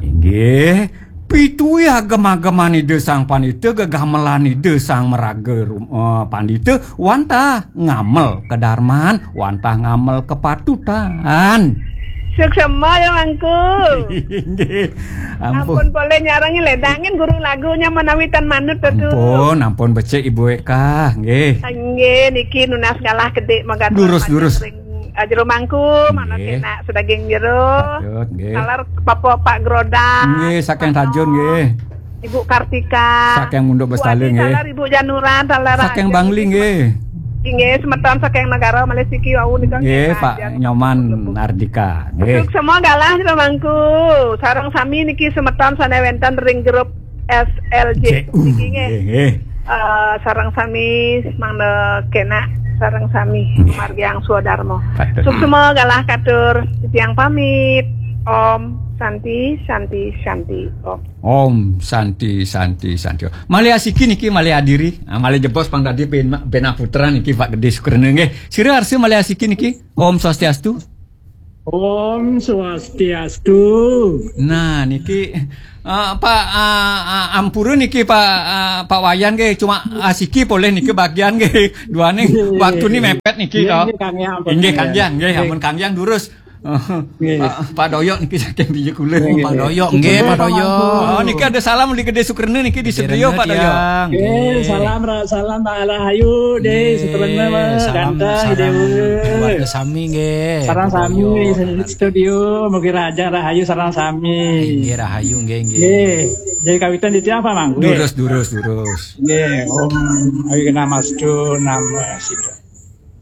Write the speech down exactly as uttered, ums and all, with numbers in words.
Inggih, pituih agem-ageman Ida Sang Pandita, gegamelan Ida Sang Maraga Rum- eh, Pandita, wantah ngamel kadarman, wantah ngamel kapatutan. Suksma ya, Mangku. Inggih. Ampun. Ampun, boleh nyarengin ledangin guru lagunya menawi tan manut, Datu. Ampun, ampun becik Ibu Eka, nggih. Nggih, niki nunas galah kedik magaduh Durus, panjang durus. Ring, eh, jero Mangku, mana Nggih. Kena sedaging jero. Patut, nggih. Taler Papa Pak Grodang. Nggih, saking Tajun, nggih. Ibu Kartika. Saking Munduk Bestala, Wati, nggih. Taler Ibu Januran, taler Saking Raja, Bangli, nggih. Inggih, semeton saking negara Malaysia siki wau nika Nggih, nggih, Pak Raja. Nyoman Ardika, nggih. Suksma galah jero Mangku. Sareng sami niki semeton sane wenten ring grup S L J. J U, Niki nggih. Nggih, nggih. Eh, sareng sami mangda kena sareng sami Nggih. Margiang Swadarma. Patut. Suksma galah katur titiang pamit. Om Santi, Santi, Santi, Om. Om Santi, Santi, Santi. Malih asiki niki, malih adiri. Ah, malih jebos pang tadi ben, ben putra niki Pak Gede Sukrena nggih. Sira arsa malih asiki niki. Om Swastiastu. Om Swastiastu. Nah, niki ah, Pak ah, ah, ampura niki Pak ah, Pak Wayan nggih, cuma asiki polih niki bagian nggih. Duane Nggih. Waktu ni mepet niki Nggih, to. Nggih, Kang Yang, ampun, Inggih Kang Kang Yang. Yang nggih, Nggih. Ampun Kang Yang durus. Nggih. Pak, Pak Doyok niki saking Biji Kulon. Nggih, Pak nggih. Doyok, Nggih, nggih. Pak Doyok. Oh, niki ada salam di Gede Sukrena niki di Gede studio, Rena Pak Doyok. Tiang. Nggih, Nggih. Salam ra- salam Pak Rahayu deh, Nggih, Sukrena, salam, ganteng, salam Dewa. Keluarga sami nggih. Sarang Pak sami Doyok, di studio, mugi raja Rahayu sarang sami. Nggih, Rahayu nggih, nggih. Nggih, jadi kawitan di tiang apa, Mang? Nggih. Durus, durus, durus. Nggih, Om Awighnamastu Namo Siddha.